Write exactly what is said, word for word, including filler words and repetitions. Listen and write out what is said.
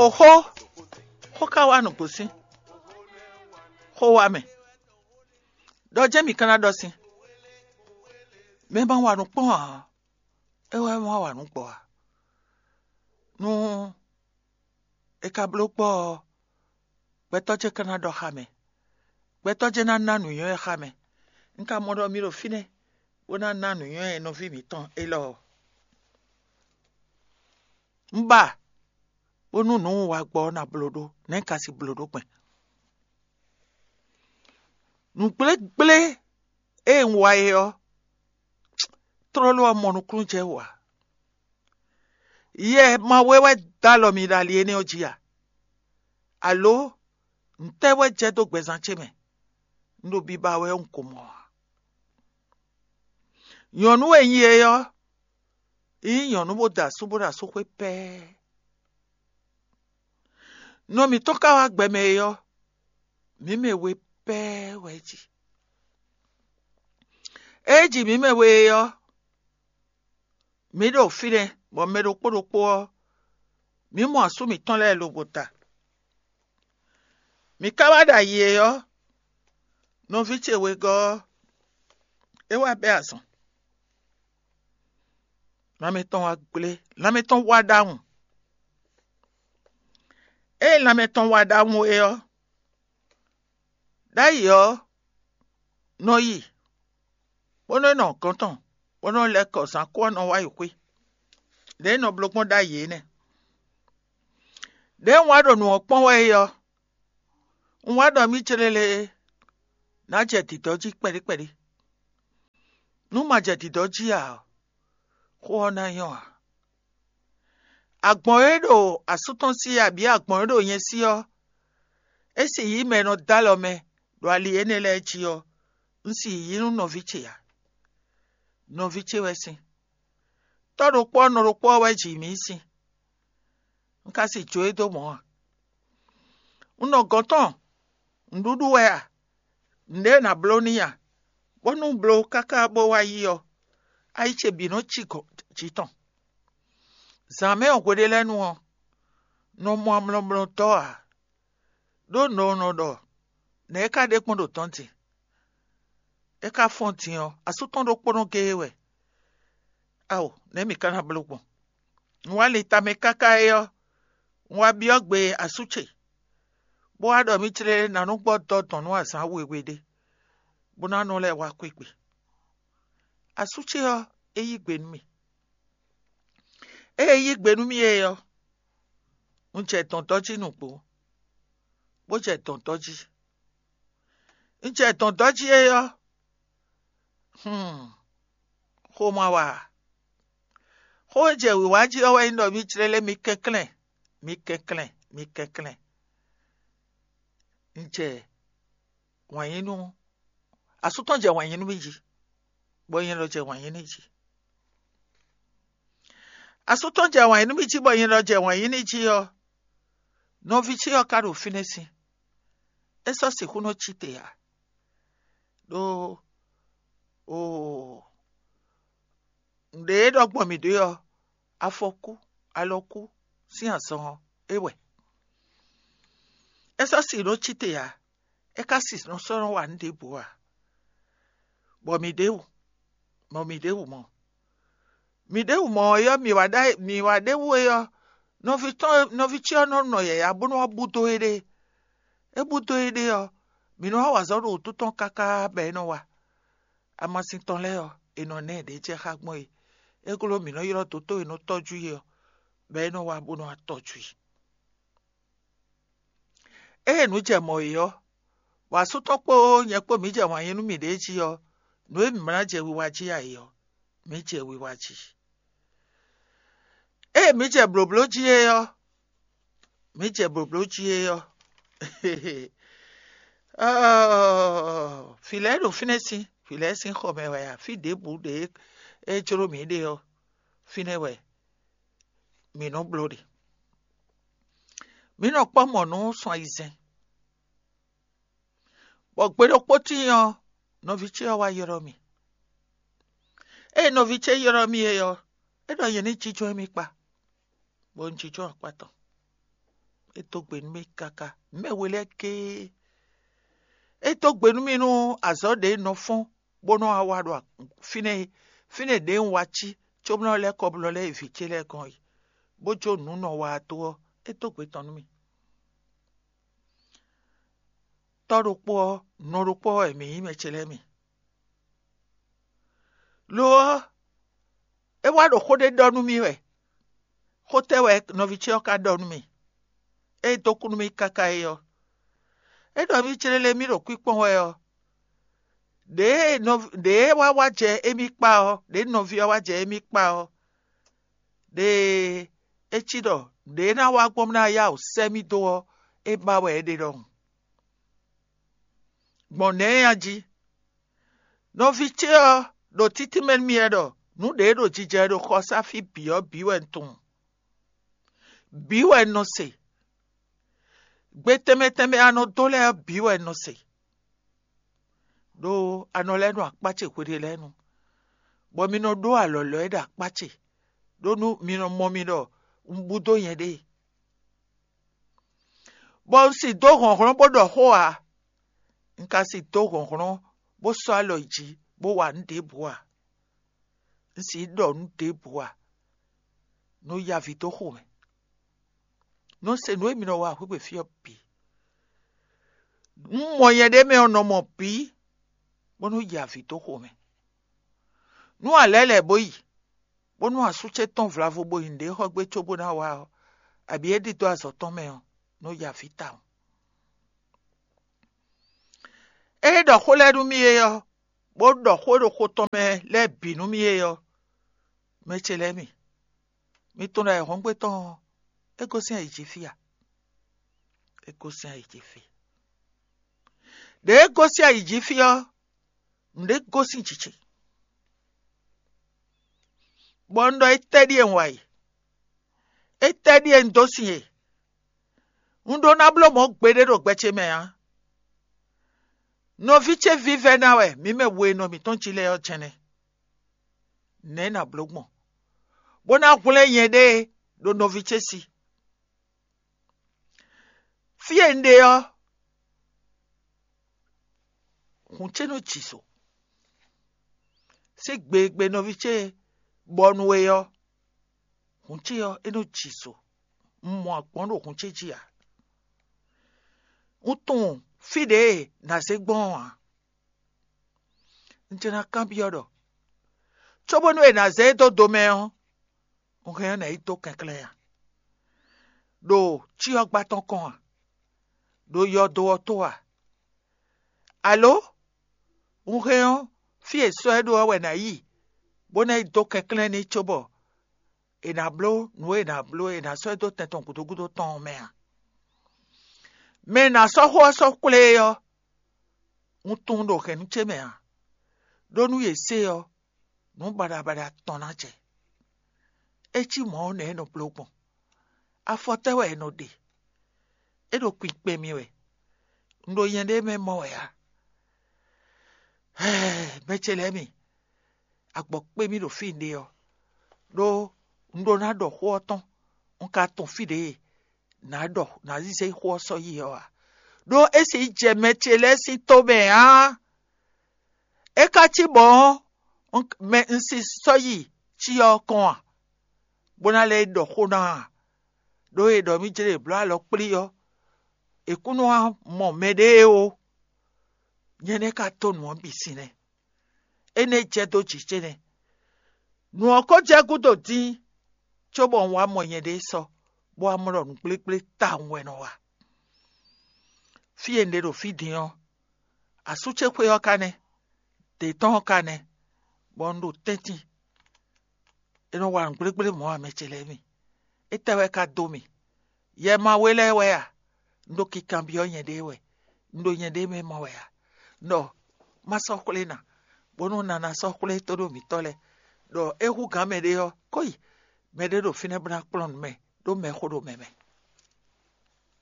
Oxó, xó ka wá nǔgbó sín xó wá mɛ. Ɖɔ jɛ́n mǐ ka ná ɖɔ sín. Mɛ ma wa nǔ kpɔ́n ǎ, é wɛ ma wa nǔ gbɔ ǎ. Nú è ka bló gbɔ ɔ́, gbɛtɔ́ ce ka ná ɖɔ xá mɛ. Gbɛtɔ́ ce ná ná nǔnywɛ́ xá mɛ. Un ka mɔ ɖɔ mi ɖo fínɛ́ bó ná ná nǔnywɛ́ nɔví mǐtɔn élɔ́ ɔ́. Un ba bónú nǔ un wa gbɔ ɔ́ ná bló ɖó, nɛ̌ un ka sixú bló ɖó gbɛn? Nǔgblégblé e un wa é ɔ́, tlóló ɔ́ mɔ nukúnnú jɛ wú ǎ. Yɛ ma wé wɛ dó alɔ mi ɖo ali énɛ́ ɔ́ jí a? Alo ntɛ́ wɛ jɛ dó gbɛzán ce mɛ? Un ɖo biba wɛ un ko mɔ ǎ. Nyɔ̌nu e nyí é ɔ́, é nyí nyɔ̌nu bó da asú bó ɖo asúxwé pɛ́ɛ́. Nɔ mǐtɔn ka wá gbɛ mɛ é ɔ́, mǐ mɛ we pɛ́ɛ́ wɛ é ji. Ée é ji mǐ mɛ we é ɔ́, mǐ ɖo fínɛ́, bɔ mɛ ɖokpó ɖokpó ɔ́, mǐ mɔ asú mǐtɔn lɛ́ɛ lobo ta. Mǐ ka wá ɖo ayi é ɔ́, nɔví ce wegɔ́ ɔ́, é wá bɛ́ azɔn. Lanmɛ tɔn wá gblé, lanmɛ tɔn wá ɖ'awun. Ée lanmɛ tɔn wá ɖ'awun é ɔ́, ɖ'ayǐ ɔ́ nɔ yi, bó nɔ́ nɔ gɔ̌n tɔn, bó nɔ́ lɛ́ kɔ zǎn kú ɔ́ nɔ wá yi xwé. Lě e nɔ bló gbɔn ɖ'ayǐ é nɛ́. Lě e un wá ɖo nǔ ɔ́ kpɔ́n wɛ é ɔ́, un wá ɖɔ mì céɖéɖé ná jɛ dǐdɔ́ jí kpɛɖé kpɛɖé. Nú ma jɛ dǐdɔ́ jí ǎ ɔ́, xó ɔ́ ná nyɔ́ ǎ. Agbɔ̌n e ɖo asú tɔn sí abǐ agbɔ̌n e ɖo nyɛ sí ɔ́, é sì yí mɛ e nɔ dó alɔ mɛ ɖo ali énɛ́ lɛ́ɛ jí ɔ́, un sì yí nú nɔví ce ǎ. Nɔví ce wɛ sín. Tɔ́ ɖokpó ɔ́ nɔ ɖokpó ɔ́ wɛ ji mǐ sín. Un ka sì jó e dó mɔ̌ ǎ. Un nɔ gɔ̌n tɔn nǔɖuɖu wɛ a? Nǔɖé e nǎ bló n'i a? Bónú un bló káká bó wá yi ɔ́, ayi ce bǐ nɔ cí gɔ̌n jǐ tɔn. Zǎn mɛ ɔ́ hweɖé lɛ́ɛ nu ɔ́, nɔ mɔ amlɔmlɔ dɔ́ ǎ. Ɖó nɔ nɔ ɖɔ nɛ̌ é ka ɖe kpɔ́n ɖo tɔ́n din? É ka fɔ́n din ɔ́, asú tɔn ɖokpónɔ géé wɛ. Ao, nɛ̌ mǐ ka ná bló gbɔn? Un wá lin tamɛ káká é ɔ́, un wá byɔ́ gbe asú ce, bó wá ɖɔ mì clé ná nú gbɔ dɔ́ dɔn nú azǎn wěwé ɖé, bó ná nɔ lɛ́ wá xwé gbe. Asú ce ɔ́, é yí gbe nú mì. Ée é yí gbe nú mì é ɔ́, un jɛ dɔ̌ndɔ́ jí nǔgbó, bó jɛ dɔ̌ndɔ́ jí. Un jɛ dɔ̌ndɔ́ jí é ɔ́, hmm, xó ma wa ǎ. Xó e jɛ wǐwá jí ɔ́ wɛ nyí ɖɔ mì clélé mi kɛnklɛ́n, mi kɛnklɛ́n, mi kɛnklɛ́n. Un jɛ wǎn yí nú asú tɔn jɛ wǎn yí nú mì jí, bɔ nyɛ lɔ jɛ wǎn yí n'i jí. Asú tɔn jɛ wǎn yí nú mì jí, bɔ nyɛ lɔ jɛ wǎn yí n'i jí ɔ́, nɔví ce ɔ́ ka ɖo fínɛ́ sín. É sɔ́ sixú nɔ cí te ǎ. Ɖó oo, nǔɖé e ɖɔ gbɔn mǐ ɖe ɔ́, afɔkú, alɔkú sín azɔn ɔ́, é wɛ. É sɔ́ si nɔ cí te ǎ. É ka si nɔ sɔ́ nɔ wa nǔ ɖěbǔ ǎ, bɔ mǐ ɖě wú, bɔ mǐ ɖě wú mɔ. Mǐ ɖě wú mɔ ɔ́, mǐ wá ɖa mǐ wá ɖě wú é ɔ́, nɔví tɔn nɔví ce ɔ́ nɔ nɔ yǎyá bó nɔ́ wá búdó éɖée. É búdó éɖée ɔ́, mǐ nɔ wá wa azɔ̌ ɖo wǔtu tɔn káká bɔ é nɔ wa. Amasin tɔn lɛ́ɛ ɔ́, è nɔ ná ɛ ɖě jɛ xá gbɔn é. É glɔ́ mǐ nɔ ylɔ́ dǒtó e nɔ tɔ́jú i ɔ́, bɔ é nɔ wá bó nɔ wá tɔ́jú i. Ée nǔ jɛ mɔ̌ é ɔ́, bɔ asú tɔn kpó nyɛ kpó mǐ jɛ wǎn yí nú mǐɖée jí ɔ́, nǔ e mǐ ma ná jɛ wiwa jí ǎ é ɔ́, mǐ jɛ wiwa jí. Ée mǐ jɛ blǒbló jí é ɔ́, mǐ jɛ blǒbló jí é ɔ́, ɔ́ɔ, vǐ lɛ́ɛ ɖo fínɛ́ sín, vǐ lɛ́ɛ sín xɔ mɛ wɛ ǎ, fí ɖěbǔ ɖě é jló mǐ ɖe ɔ́, fínɛ́ wɛ mǐ nɔ bló ɖe. Mǐ nɔ kpɔ́ mɔ̌ nú sun ayizɛ́n, bɔ gbe ɖokpó tíin ɔ́, nɔví ce ɔ́ wá ylɔ́ mì. Ée nɔví ce ylɔ́ mì é ɔ́, é ɖɔ nyɛ ní jínjɔ́n émí kpá, bɔ un jínjɔ́n akpá tɔn. É dó gbe nú mì káká. Mɛ we lɛ́ɛ géé. É dó gbe nú mì nú azɔ̌ ɖě nɔ fɔ́n bó nɔ́ wá wa ɖo fínɛ́ é. Fínɛ́ ɖě un wá cí cóbó nɔ́ lɛ́ kɔ bó nɔ́ lɛ́ yi vǐ ce lɛ́ɛ gɔ́n é, bó jó nǔ nɔ wa dó ɔ́, é dó gbe tɔn nú mì. Tɔ́ ɖokpó ɔ́, nɔ ɖokpó ɔ́ wɛ mǐ nyí mɛ ce lɛ́ɛ mi. Lo ɔ́, é wá ɖo xó ɖé ɖɔ nú mì wɛ. Xó tɛ́ wɛ nɔví ce ɔ́ ka ɖɔ nú mì? É dó kú nú mì káká é ɔ́, é ɖɔ mì clélé mì ɖo kwíkpɔ́n wɛ ɔ́, ɖěe nɔ ɖěe wá wá jɛ émí kpá ɔ́, ɖěe nɔví ɔ́ wá jɛ émí kpá ɔ́, ɖe é cí ɖɔ ɖě ná wá gbɔn ná yá wǔ sɛ́ mì dó ɔ́, é ba wɛ é ɖe ɖɔhun. Gbɔn nɛ̌ a jí? Nɔví ce ɔ́ ɖo títí mɛ nú mì wɛ ɖɔ nǔ ɖě ɖo jijɛ ɖo xɔsáfí bǐ ɔ́ bǐ wɛ un tunwun, bǐ wɛ un nɔ se, gbe tɛnmɛ tɛnmɛ e a nɔ dó lɛ́ɛ ɔ́ bǐ wɛ un nɔ se. Ɖó a nɔ lɛ́ nɔ akpá ce hweɖé lɛ́ɛ nu, bɔ mi nɔ ɖó alɔ̌lɔ́ e ɖo akpá ce, ɖó nú mi nɔ mɔ mi ɖɔ un bú dó nyɛɖée. Bɔ un si dó hlɔ̌nhlɔ́n bó ɖɔ xó ǎ; un ka si dó hlɔ̌nhlɔ́n bó sɔ́ alɔ yi jǐ bó wa nǔ ɖěbǔ ǎ; un si ɖɔ nǔ ɖěbǔ ǎ; nǔ yaví dó xo mɛ. Nɔ se nǔ e mi nɔ wa hwegbe fí ɔ́ bǐ. Nú mɔ nyɛ ɖ'é mɛ ɔ́, nɔ mɔ bǐ, bónú yi avǐ dó xo mɛ. Nú a lɛ̌ lɛ̌ bó yi, bónú asú ce tɔ́n vlavo bo nyi nǔɖé xɔ gbé cóbó ná wá ɔ́, abǐ é ɖidó azɔ̌ tɔn mɛ ɔ́, nɔ yi avǐ tawun. É ɖɔ xó lɛ́ɛ nú mì é ɔ́, bó ɖɔ xó e ɖo xo tɔn mɛ lɛ́ɛ bǐ nú mì é ɔ́, mɛ ce lɛ́ɛ mi, mi tunwun ɖɔ ayǐhɔ́ngbe tɔn ɔ́, é gosín ayǐ jí fí a? É gosín ayǐ jí fí. Ɖě é gosín ayǐ jí fí ɔ́, nǔɖé gosín jǐ ce, bɔ un ɖɔ étɛ́ ɖíe un wa e? Étɛ́ ɖíe un dó sin e? Un ɖó ná bló mɔ̌ gbeɖé ɖo gbɛ ce mɛ ǎ. Nɔví ce vívɛ́ ná wɛ mǐ mɛ we e nɔ mǐtɔn jí lɛ́ɛ ɔ́ jɛ́n nɛ́. Nɛ̌ nǎ bló gbɔn, bó ná hwlɛ́n nyɛɖée ɖo nɔví ce sí? Fí e un ɖe ɔ́, hǔn ce nɔ jǐ so. Sín gbe e gbe nɔví ce bɔ nú we ɔ́, hǔn ce ɔ́, é nɔ jǐ so. Un mɔ agbɔ̌n ɖo hǔn ce jí ǎ. Un tunwun fí ɖě e nǎ zé gbɔn ɔ́ ǎ. Un jɛ ná kanbyɔ́ ɖɔ, cóbónú è nǎ zé e dó do mɛ ɔ́, un hɛn ɔ́ nǎ yi dó kɛnklɛ́n a? Ɖo cyɔ́gbá tɔn kɔn a? Ɖo yɔdo ɔ́ tó a? Alo un hɛn ɔ́, fí e sɔ́ ɛ ɖó ɔ́ wɛ nǎ yi, bó ná yi dó kɛnklɛ́n n'i cóbɔ è nǎ bló nǔ e è nǎ bló e è nǎ sɔ́ ɛ dó tɛn tɔn gǔdo gúdo tɔn ɔ́ mɛ a? Mɛ e nǎ sɔ́ xó ɔ́ sɔ́ xwlé é ɔ́, un tunwun ɖo hɛ̌nnu ce mɛ ǎ, ɖó nú yě se ɔ́, nǔ baɖabaɖa tɔn ná jɛ. É cí mɔ̌ ɔ́, nɛ̌ é nɔ bló gbɔn? Afɔ tɛ́ wɛ è nɔ ɖe? É ɖo kpinkpɛn mì wɛ. Un ɖo nyɛɖée mɛ mɔ wɛ ǎ. Mɛ ce lɛ́ɛ mi, agbɔ̌ kpé mì ɖo fí un ɖe ɔ́, ɖó un ɖó ná ɖɔ xó ɔ́ tɔn, un ka tunwun fí ɖě nǎ ɖɔ nǎ zé xó ɔ́ sɔ́ yi ɔ́ ǎ, ɖó é sixú jɛ mɛ ce lɛ́ɛ sín tó mɛ ǎ. É ka cí mɔ̌ ɔ́, mɛ un si sɔ́ yi cyɔ ɔ́ kɔn a, bó ná lɛ́ ɖɔ xó ná a? Ɖó è ɖɔ mì jlé è bló alɔ kplí ɔ́, è kún nɔ wá mɔ mɛɖée ó. Nyɛ nɛ́ ka dó nǔ ɔ́ bǐ sin nɛ́. Énɛ́ jɛ dó jǐ ce nɛ́. Nǔ ɔ́ ko jɛ gúdo dín, cóbɔ un wá mɔ nyɛɖée sɔ́, bó wá mɔ ɖɔ nǔgblégblé tawun wɛ nɔ wa. Fí e un ɖe ɖo fí din ɔ́, asú ce xwé ɔ́ ka nɛ́, dě tɔn ɔ́ ka nɛ́, bɔ un ɖo tɛ́ntin. É nɔ wa nǔgblégblé mɔ̌ ǎ, mɛ ce lɛ́ɛ mi. Étɛ́ wɛ ka dó mì? Yɛ ma we lɛ́ɛ wɛ a? Un ɖo kikanbyɔ́ nyɛɖée wɛ, un ɖo nyɛɖée mɛ mɔ wɛ a? Ɖɔ má sɔ́ xwlé ná, bónú un ná ná sɔ́ xwlé tóɖó mǐtɔn lɛ́ɛ, ɖɔ é hú gǎn mɛɖé ɔ́, kó yi mɛɖé ɖo fínɛ́ bó ná kplɔ́n nǔ mɛ, ɖó mɛxó ɖo mɛ mɛ.